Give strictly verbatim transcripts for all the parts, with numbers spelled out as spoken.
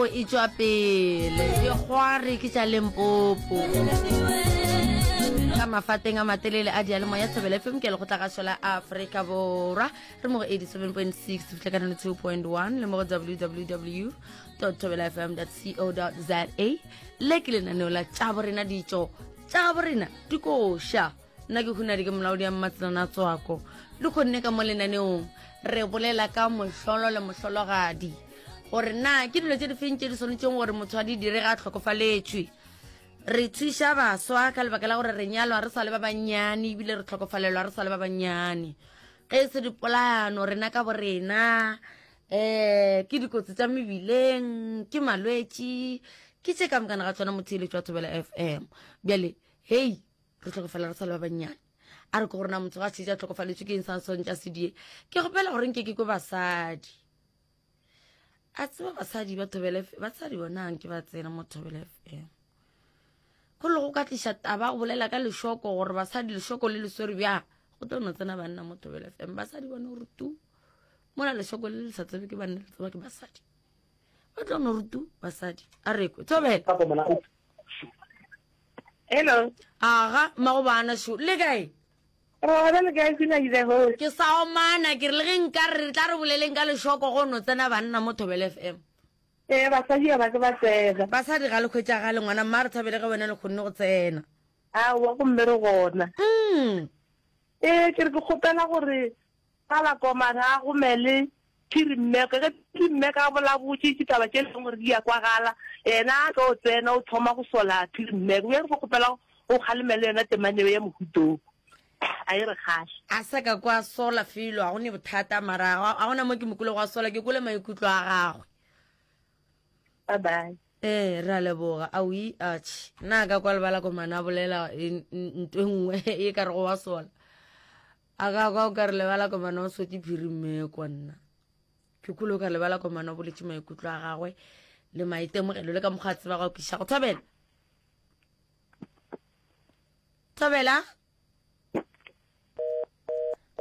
E tšwa pele dikgwari ke tša Limpopo ka mafateng a matelele a diyalemoya Thobela F M ke lekgotlagašo la Afrika Borwa re mo go eighty-seven point six fitlha ka two point one le mo go w w w dot thobela f m dot co dot za. Le ke lenaneo la tša borena ditšo tša borena dikoša. Nna ke Hunadi, ke molaodi ya Mmatselana Tswako le kgonne ka mo lenaneong re bolela ka mohlolo le mohlologadi, gore na ke dilo tše di feng tše di swanetšeng gore motho a di dire ga a tlhokofaletšwe. Re thuša baswa ka lebaka la gore re nyalwa re sa le ba bannyane, ebile re tlhokofalelwa re sa le ba bannyane. Ge e se dipolayano rena ka borena, um ke dikotsi tša mebileng, ke malwetši, ke tše ka mokana ga tsona. Motheeletši wa Thobela F M, bjale hei, re tlhokofala re sa le ba bannyane, a re ke gore na motho ga šetše a tlhokofaletšwe ke eng sa swantše a sedie? Ke kgopela gore nke ke kwe basadi. A tseba basadi ba Thobela, basadi bonang ke ba tsena mo Thobela F M go le go ka tliša taba go bolela ka lešoko, gore basadi lešoko le le swere bjang, go tlo no tsena banna mo Thobela F M. Basadi bone gore tu mola lešoko le le sa tsebe ke banna, le tseba ke basadi, ba tlo no re tu basadi. A rekwe Thobela. Hello. Aga mmago bana šo, le kae? Gona le kae, Sina the host? Ke sa omana, ke re le ge nka re tla re boleleng ka lešoko, go no tsena banna mo Thobela F M. Ee, basadi ga ba ke ba tsena. Basadi ga le hwetšagale, ngwana mma. Re thabele ge wena le kgonne go tsena. Aowa, gomme re gona. Mm. Ee, ke re ke kgopela gore gala komana a gomele Phiri Mmeke. Ge Phiri Mmeke a bolabotše ditaba tše leng gore di a kwagala, yena a tlo tsena o thoma go sola Phiri Mmeke. Bjale re kgopela o kgalemele yona temaneo ya mohutong. A e re kgahle. A sa ka kwa sola felo, ga go ne bothata, mara ga gona mo ke mokule go a sola, ke kole maikutlo a gagwe. Bye bye. Ee, re a leboga. Aoi, atšhe, nna ka kwa lebala komana a bolela nto e nngwe e ka re go wa sola, a ka kwa o ka re lebala komana o sotse Phiri Mmekwa. Nna ke kole o ka lebala komana o boletse maikutlo a gagwe le maitemogelo le ka mokgwa a tseba go kiša go thobela. Thobela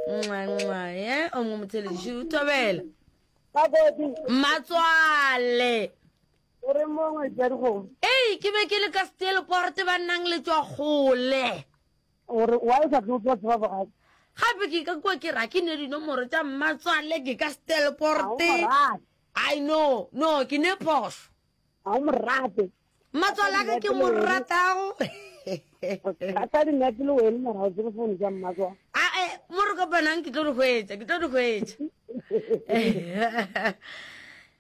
nxa ye o mongwe motheletši. Thobela Mmatswale. O re mongwe tsa dikgomo. Ei, ke be ke le ka Steelport, ba nnang le tswa kgole. Gore wa e sa tlo tswa tseba bogadi. Gape ke ka kua, ke ra ke ne dinomoro tša Mmatswale, ke ka Steelport. I know, no ke ne phoso. Ga o morate. Mmatswale a ka ke mo ratago. Ka dinepe le wene, mara o tsebe founu tša Mmatswale. Ae, mo re kopanang ke tlo di hwetša, ke tlo di hwetša.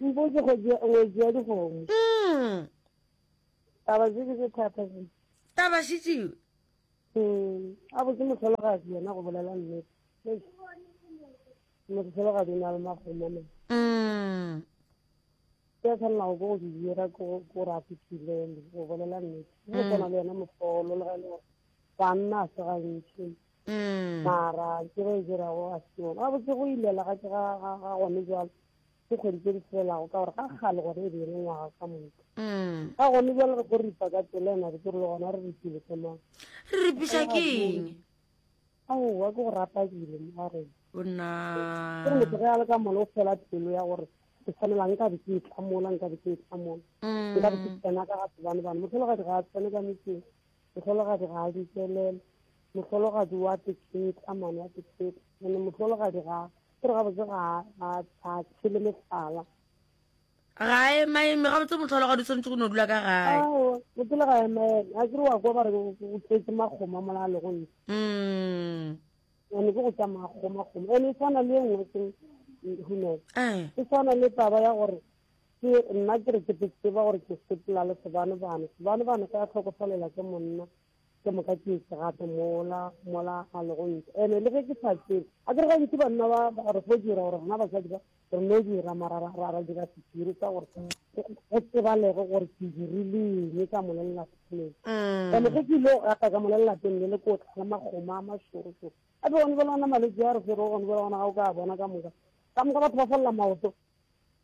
Mpotse, ngwetsi ya dikgomo. Mm. Taba tse ke tse thata tse. Taba šetšeo. A botse mohlologadi yena, go bolela nnete, mohlologadi o na le magomo ma. Mm. Ke a tshwanelago ke go di dira ke gore a fitlhilele, go bolela nnete, go tshwana le yena mohlolo, le ga e le gore banna a se gantši, Mm. mara ke ba e dirago a se yona gabotse. Go ilela ga ke ga gone jalo ke kgwedi tse di tshelelago, ka gore ga kgale gone e be e le ngwaga ka moka. Mm. Ga gone jalo re ko ripa ka tsela ena, re ke re le gona re ripile ke mang? Re ripiša ke eng? Aowa, ke go rata dilo mo ga rena. Bona. Ke re motho ge a le ka mola o fela pelo ya gore ke tshwanela nka be ke itlamola, nka be ke itlamola, nka be ke tsena ka ga sebane bane. Mohlologadi ga a tsene ka metseng, mohlologadi ga a dikelela, mohlologadi wa teketla mane wa teketla ene, mohlologadi ga ke re gabotse ga a tshele mehlala. Ga emaeme gabotse, mohlologadi o tshwanetse go no dula ka gae. Ao, motho ga emaeme, a kere wa kwa ba re o tletse makgoma mola a le go ntle. Mm. Ene ke go tsa makgoma kgoma, ene e tshwana le e nngwe ke hunela. Eh. E tshwana le taba ya gore ke nna ke re ke tseba gore ke sepela le sebane-bane, sebane-bane ka tlhokofalela ke monna, ke moka ke etse gape mola mola a le go ntle, ene le ge ke sa tsebe, a kere gantsi banna ba ba re fo dira gore rena basadi ba re no dira, mara ra ra ra dira sephiri sa gore go tsebalege gore ke dirile eng ka mola lelapeng. Mm. Ene ge ke ile go gata ka mola lelapeng le le ko tlala makgomo a mašorošoro, ape gone bjale gona malwetse a re fere gone bjale gona ga o ka bona ka moka ka moka batho ba folela maoto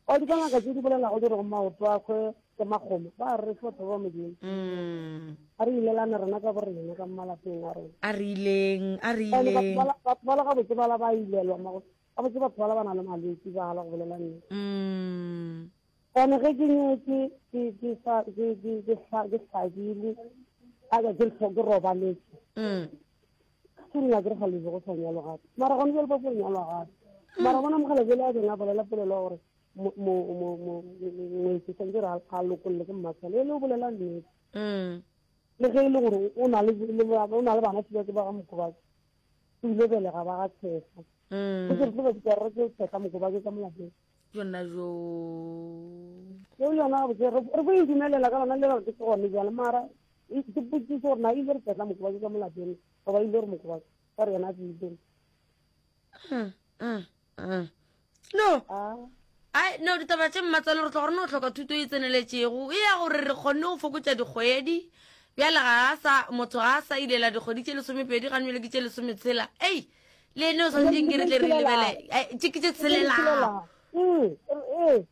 o di ka ngaka tse di bolelago di re go maoto a kgwe ke makgomo, ba re fe batho ba Modimo. Mm. A re ilelane rena ka borena ka malapeng a rena. A re ileng, a re Ene batho ileng. bala- batho bala gabotse bala ba ilelwa mago gabotse, batho bala ba na le malwetse bala, go bolela nnete. Mm. Ene ge ke nyetse ke ke sa ke ke ke ke hlabile a ka ke ke robaletse. Mm. Ke nna ke re ga le go sa nyalo gape. Mara gone jwale ba go nyalwa gape. Mara bona mogala jele a beng a bolela polelo ya gore mo mo mo mo ngwetsi tshwanetse gore a lokolle ke mmatshwalo e le o bolela nnete. Mm. Le ge e le gore o na le o na le bana ke ba ga Mokobatse. O ile belega ba ga Tshefa. Mm. Ke re tlo ba ke re ke Tshefa Mokobatse ka molapeng. Yona jo. Yeo yona gabotse re re go e dumelela ka lona le gore ke gone jale mara ke potsiso gore na ile re Tshefa Mokobatse ka molapeng goba ile re Mokobatse ka re yena a tsebile. Mm. Mm. Mm. No. Ah. Ai no ditaba tše mmatswale re tlo gore no hloka thuto e tseneletšego e ya gore re kgonne go fokotša dikgwedi bjale ga a sa motho ga a sa ilela dikgwedi tše lesomepedi ga nwele ke tše lesometshela ei le ene o swanetseng ke re tle re lebele tše ke tše tshelelago Mm, ee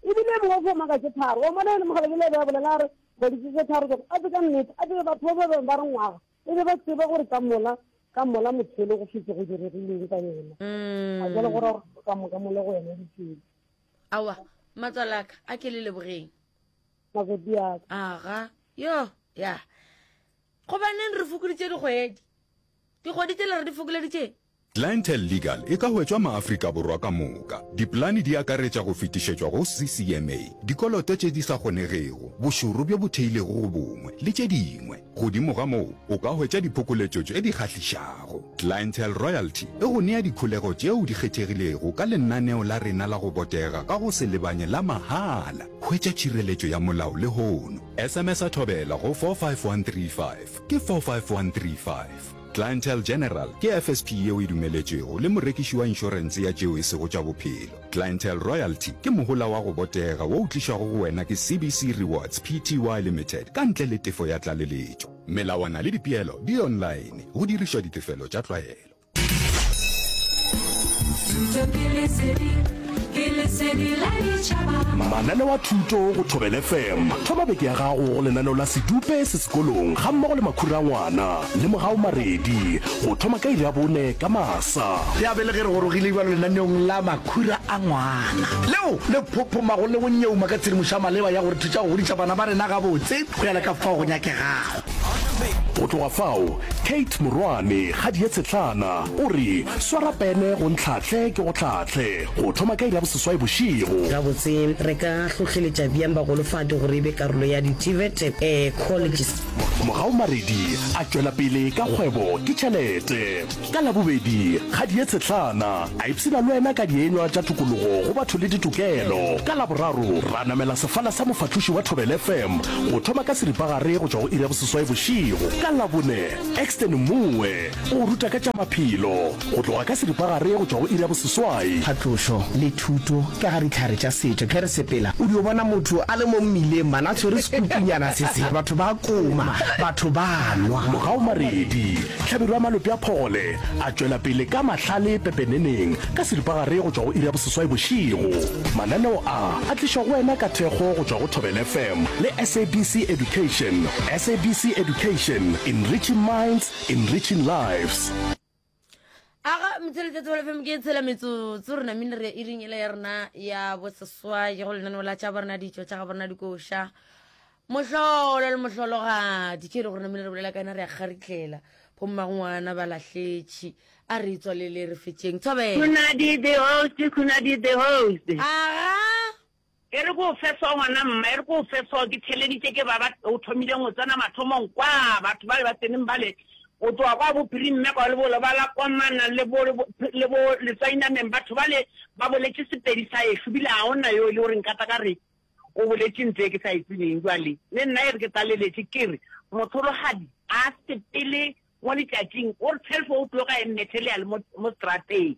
ebile mongwe fo maka tše tharo wa mona ene mogala bile be a bolela a re kgwedi tše tharo a tse ka nnete a tsebe batho ba ba bangwe ba re ngwaga e be ba tseba gore ka mola ka mola motho ele go fetse go diregileng ka yena a jale gore ka moka mole go yena ditsela awa matswale aka a ke le lebogeng makoti aka aga yo ya gobaneng re fokoditše dikgwedi dikgwedi tsele re di fokoleditšeng Clientele Legal e ka hwetšwa maAfrika Borwa ka moka. Dipolane di akaretša go fetišetšwa go C C M A, dikoloto tše di sa kgonegego, bošoro bjo bo theilego go bongwe, le tše dingwe. Godimo ga moo, o ka hwetša diphokoletšo tše di kgahlišago. Clientele Royalty e go nea dikholego tšeo di kgethegilego ka lenaneo la rena la go botega ka go se lebanye la mahala. Hwetša tšhireletšo ya molao lehono. S M S a Thobela go four five one three five ke four five one three five. Clientele General ke F S P yeo e dumeletšwego le morekiši wa inšorense ya tšeo e sego tša bophelo. Clientele Royalty ke mohola wa go botega wo o tlišwago go wena ke C B C Rewards P T Y Limited ka ntle le tefo ya tlaleletšo. Melawana le dipeelo di online go dirišwa ditefelo tša tlwaelo. Mananeo a thuto go Thobela F M. Thoma beke ya gago go lenaneo la Sedupe se sekolong ga mmogo le Makhura a ngwana le Mogao Maredi go thoma ka iri ya bone ka masa. Ya be le ge re gorogile bjalo lenaneong la Makhura a ngwana leo le phophomago le go nyeuma ka tshedimošo ya maleba ya gore thuša go godiša bana ba rena gabotse go ya le ka fao go nyakegago. Go tloga fao Kate Morwane Kgadi Tshetlana o re swara pene go ntlhatle ke go tlhatle go thoma ka iri ya boseswai bošego. Gabotse re ka hlohleletša bjang bagolofadi gore e be karolo ya di-T V E T eh, colleges. Mogao Maredi a tšwela pele ka kgwebo ke tšhelete. Ka labobedi Kgadi Tshetlana a ipshina le wena ka dienywa tša tokologo go batho le ditokelo. Ka laboraro ra namela sefala sa mofatloši wa Thobela F M go thoma ka seripagare go tšwa go iri ya boseswai bošego. Ka labone Exton Mongwe o ruta ka tša maphelo go tloga ka seripagare go tšwa go iri ya boseswai. Phatlošo le thuto ka ga ditlhare tša setšo ge re sepela o dio bona motho a le mo mmileng mana a tshwere sekutunyana se se batho ba koma batho ba nwa. Mogao Maredi Hlabirwa ya Malope a Phogole a tšwela pele ka mahlale pepeneneng ka seripagare go tšwa go iri ya boseswai bošego. Mananeo a a tlišwa go wena ka thekgo go tšwa go Thobela F M le S A B C Education. S A B C Education, enriching minds, enriching lives. Aga motšheletše Thobela F M ke tshela metsotso re namile re iring ele ya rena ya boseswai go lenaneo la tša borena ditšo tša ga borena dikoša mohlolo le mohlologadi ke re gore namile re bolela ka yena re ya kgaritlela bommangwana ba lahletše a re tswalele re fetšeng Thobela. Khunadi the host, Khunadi the host. Aga e re ko feso ngwana mma e re ko feso ke theleditše ke ba ba o thomileng go tsena mathomong kwa batho ba le ba tseneng bale o tloga kwa bophirimmme kwa le bo lebala komana le bo le bo letswainameng batho bale ba boletše Sepedi sa ešo bile ga ona yo e le gore nkata ka re o boletše ntse ke sa e tsebeng jwale le nna e re ke tlaleletše ke re mothologadi a sepele mo letšatšing o re twelve o'clock a e mmethele ya le mo strateng.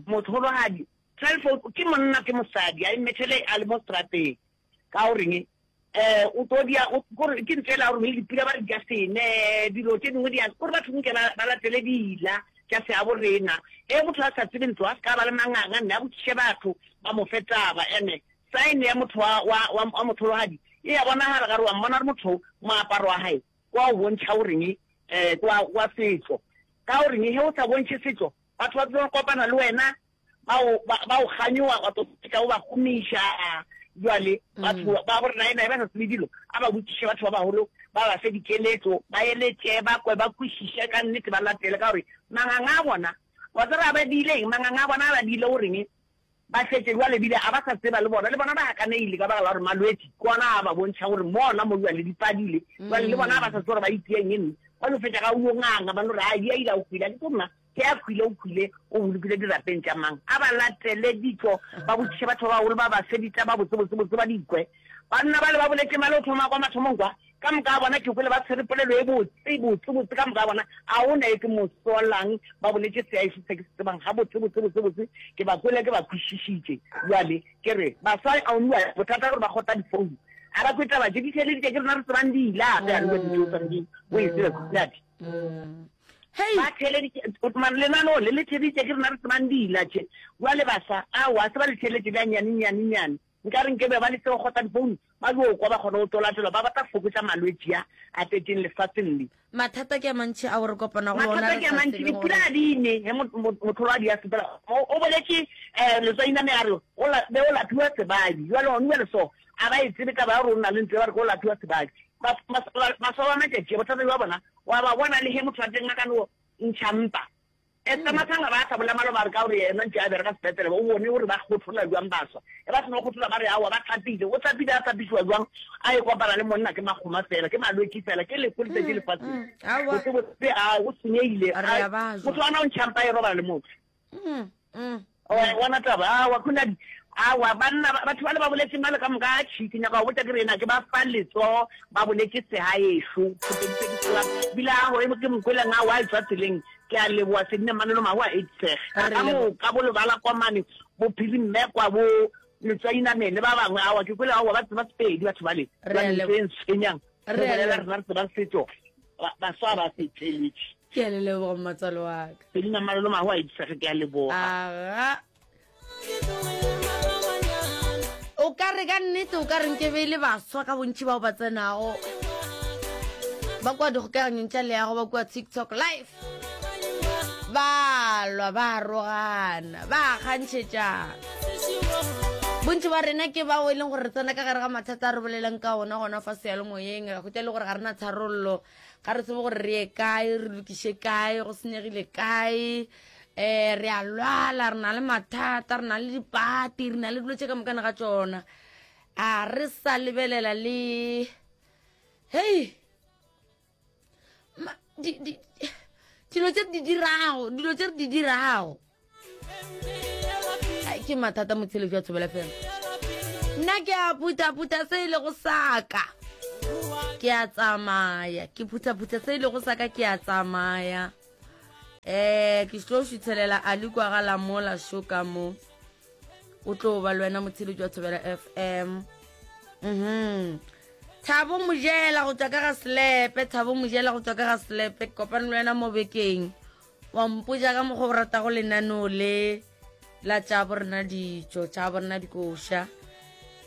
Mothologadi twelve ke monna ke mosadi a e mmethele a le mo strateng ka goreng eh o tlo dia gore ke ntsela gore le dipula ba re di a sene dilo tše dingwe di a gore batho nke ba latele dila tša se a borena e motho a sa tsebe ntlo a se ka ba le manganga nne a botšiše batho ba mo fe taba ene sign ya motho wa wa wa mothologadi e ya bonagala gare wa mmona re motho moaparo wa hae kwa o bontšha goreng eh kwa wa setso ka goreng he o sa bontšhe setso batho ba tlo kopana le wena ba o ba o kganyoa wa tlo fetša o ba gomiša Jwale batho ba bo rena ena ba sa tsebe dilo, a ba botšiše batho ba bagolo, ba ba fe dikeletšo, ba eletše, ba kwe, ba kwešiše ka nnete, ba latele, ka gore manganga a bona, wa tseba a ba diile eng? Manganga a bona a ba diile goreng? Ba šetše bjale ebile a ba sa tseba le bona, le bona ba gakanegile ka baka la gore malwetši ke ona a ba bontšha gore mona mo bjale di padile, bjale le bona a ba sa tsebe gore ba itieng eng, ba no fetša ga o yo nganga, ba no re, Ai, di a ila, o hwile, a ke tlo nna, ge a hwile o hwile, o bolokile dirapeng tša mang? A ba latele ditšo, ba botšiše batho ba bagolo, ba ba fe ditaba botse, botse, botse, ba di kwe. Banna bale ba boletše male o thoma kwa mathomong kwa, Ka moka ga bona ke kwele ba tshwere polelo e botse, botse, botse, ka moka ga bona. A o na e ke mo solang, ba boletše seaeso se ke se tsebang gabotse, botse, botse, botse. Ke ba kwele, ke ba kwešišitše. Bjale, ke re, baswa, a o nua, bothata ke gore ba kgotla difounu. A ba kwe taba tše, di theeleditše ke rena re tsebang di ile, a ge a rua dijo o swanetše o e tsebe, Khuladi. Hei! Ba theeleditše, man, lenaneo le le theeditše ke rena re tsebang di ila tše. Bjale baswa, aowa, se ba le theeletše bja nnyane, nnyane, nnyane. Nka re nke be ba le seo kgotsa difounu ba yo kwa ba kgona go tlolatlola ba batla fokotša malwetši a a tletšeng lefaseng le. Mathata ke a mantši ao re kopanago le ona Mathata re ke a sa mantši, tsebe dipula gore. ga di ne ge mohlologadi a sepela. O, o boletše um letswainame a re o la, be o lapiwa sebabi. Bjale gone bjale so a ba e tsebe taba ya gore o na le ntlo ya ba re ke o lapiwa sebabi. Ba, ba, baswa ba matšatši a, bothata bja bona wa ba bona le ge motho wa teng a ka no ntšha mpa. Esther Mathanga ba sa bolela maloba a re ka gore yena ntše a bereka sepetlele o bone gore ba kgothola bjang baswa. Ge ba seno kgothola ba re aowa ba hlapile. O hlapile a hlapišiwa bjang a e kopana le monna ke makgoma fela, ke malwetši fela, ke lehu le tletše lefaseng. Botse botse a go senyegile. Motho wa na o ntšha mpa e robala le motho. Wa e bona taba? Aowa Khunadi, aowa banna batho bale ba boletše male ka moka atšhi ke nyaka go botša ke re ena ke ba fa letsogo ba boletše segaešo Sepedi se ke se tsebang bile a gore ke mokweleng aowa a etšwa tseleng ke a leboga Sedine Manolo Mahu a eitisege ka moka bo Lebala Komane bo Phiri Mmekwa bo Letswainameng le ba bangwe aowa ke kwele aowa ba tseba Sepedi batho bale jwale ntho e ntshwenyang re bolela rena re tseba setšo baswa ba se theletše. Ke a le leboga mmatswalo wa ka. Selina Malolo Mahu a eitisege ke a leboga. Aga. O ka re ka nnete o ka re nke be e le baswa ka bontši bao ba tsenago ba kua dikgokaganyong tša leago ba kua TikTok live ba lwa ba rogana ba kgantšhetšana bontši ba rena ke bao e leng gore re tsena ka gare ga mathata a re bolelang ka ona gona fa seyalemoyeng ra hwetša e le gore ga re na tharollo ga re tsebe gore re ye kae re lokiše kae go senyegile kae um re a lwala re na le mathata re na le dipati re na le dilo tše ka mokana ga tšona a re sa lebelela le hei dilo tše re di dirago dilo tše re di dirago ke mathata motsheletso wa thobela fela nna ke a phuthaphutha se e lego saka ke a tsamaya ke phuthaphutha se e lego saka ke a tsamaya um ke tlo šuthelela a le kwa ga la mola šo ka mo o tlo ba le wena motsheletso wa thobela fm mhm thabo mojela go tswa ka ga selepe thabo mojela go tswa ka ga selepe ke kopane le wena mo bekeng wa mpotša ka mokgwa o ratago lenaneo le la tša borena ditšo tša borena dikoša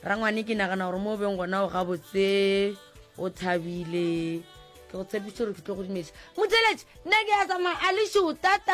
rangwane ke nagana gore mo o beng gona o gabotse o thabile ke go tshepiše gore ke tlo go dumediša motheletše nna ke ya tsamaya a lešo tata.